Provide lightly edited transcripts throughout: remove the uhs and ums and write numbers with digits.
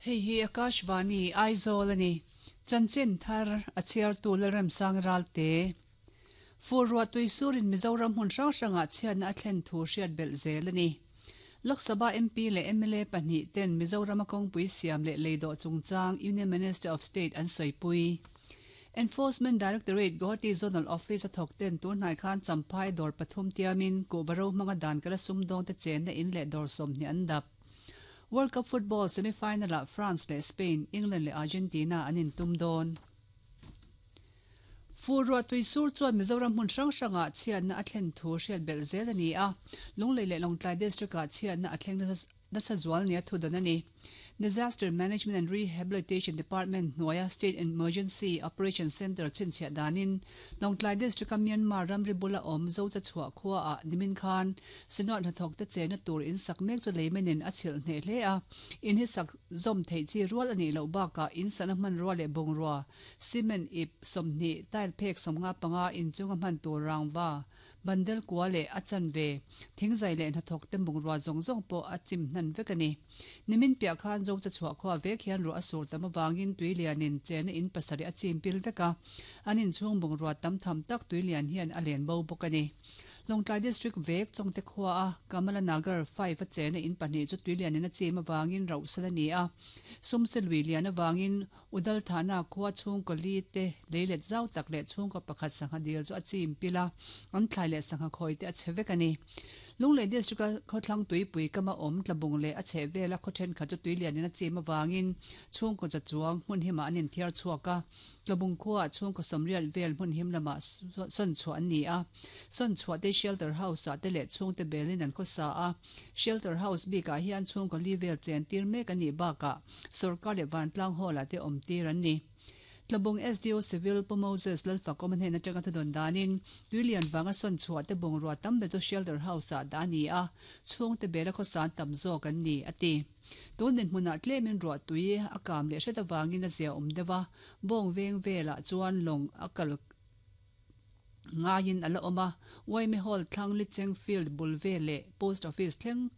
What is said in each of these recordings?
Hei hi Akashvani, Aizawl a ni. Chanchin thar a chhiartu Lalremsang Ralte. Fur ruah tui surin Mizoram hmun hrang hrangah chhiatna a thlen thu hriat belh zel a ni. Lok Sabha MP leh mla pahnih ten Mizorama kawngpui siam leh leidawh chungchang Union Minister of State an sawipui. Enforcement Directorate Guwahati Zonal Office a thawk ten tun hnai khan Champhai dawr pathum tiamin kuhva ro hmanga dan kala sumdawngte chenna in leh dawr 20 an dap. World Cup football semi-final-ah France leh Spain, England leh Argentina an intum dawn. Fur ruah tui sur chuan Mizoram hmun hrang hrangah chhiatna a thlen thu hriat belh zel a ni a, Lunglei leh Lawngtlai District-ah chhiatna a thleng nasa zual nia thu dan a ni. Disaster Management and Rehabilitation Department hnuaia State Emergency Operation Centre chhinchhiah danin Lawngtlai District-a Myanmar ramri bula awm Zochachhuah khuaah nimin khan Synod hnathawkte chenna tur in sak mek chu leimenin a chhilh hneh hle a, in hi sak zawm theih chi rual a nih loh bakah in sana hmanrua leh bungrua, cement ip 20, tile phek 55 inchunga hman tur rangva, bandel kua leh a chanve, thingzai leh hnathawkte bungrua zawng zawng pawh a chim hnan vek a ni. Nimin piah khan Zocha chhuah khua vek hian ruah a sur tam avangin tuilianin chena in pasarih a chim pil vek a, an inchhung bungrua tam tham tak tuilian hian a len bo bawk a ni. Lawngtlai District vek Chawngte khua a Kamala Nagar 5 a chena in pahnih chu tuilianin a chim avangin rauhsal a ni a, sumse lui lian avangin Udal Thana khua chhungkaw li te leilet zau tak leh chhungkaw pakhat sangha dil chu a chim pil a, an thlai leh sangha khawi te a chhe vek a ni. Lunglei District a khawthlang tuipui kama awm tlabung leh a chheh vela khaw thenkhat chu tuilianin a chim avangin chhungkaw za chuang hmun himah an inthiar chhuak a, Tlabung khuaah chhungkaw sawmriat vel hmun him lamah sawn chhuah an ni a, sawn chhuah te shelter house ah te leh chhungte belin an khawsa a, shelter house bikah hian chhungkaw li vel chen tir mek a nih bakah sawrkar leh vantlang hall ah te awm tir an ni. Tlabung SDO Civil Pu Moses Lalfakawm a hnen atanga thudawn danin tuilian vanga sawn chhuah te bungrua tam ber chu shelter house ah dah a ni a, chhungte bela khawsan tam zawk an ni, a ti. Tun dinhmunah tlemin ruah tui a kam leh hret avangin a zia awm deuh a, bawng veng velah chuan lawng a kal ngaiin a la awm a, Uaime Hall thlang Licheng Field bul vel leh Post Office thleng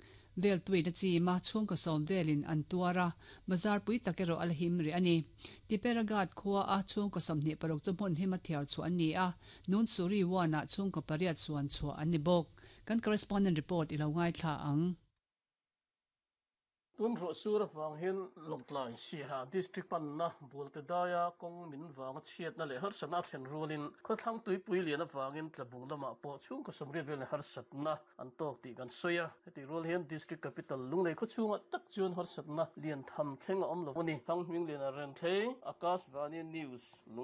vel tuin a chim a, chhungkaw sawm velin an tuar a, bazar pui tak erawh a la him rih a ni. Tiperagat khua a chhungkaw 26 chu hmun hima thiar chhuah an ni a, Nunsuri One-ah chhungkaw pariat suan chhuah an ni bawk. Kan correspondent report i lo ngaithla ang. Tun ruah sur avang hian Lawngtlai Siaha District panna Bualte daia kawng min vanga chhiatna leh harsatna a thlen rualin khawthlang tuipui lian avangin Tlabung lamah pawh chhungkaw sawmriat velin harsatna an tawk tih kan sawi a. Hetih rual hian District Capital Lunglei khawchhungah tak chuan harsatna lian tham thleng a awm lo a ni. Thanghmingliana Renthlei, Akashvani News.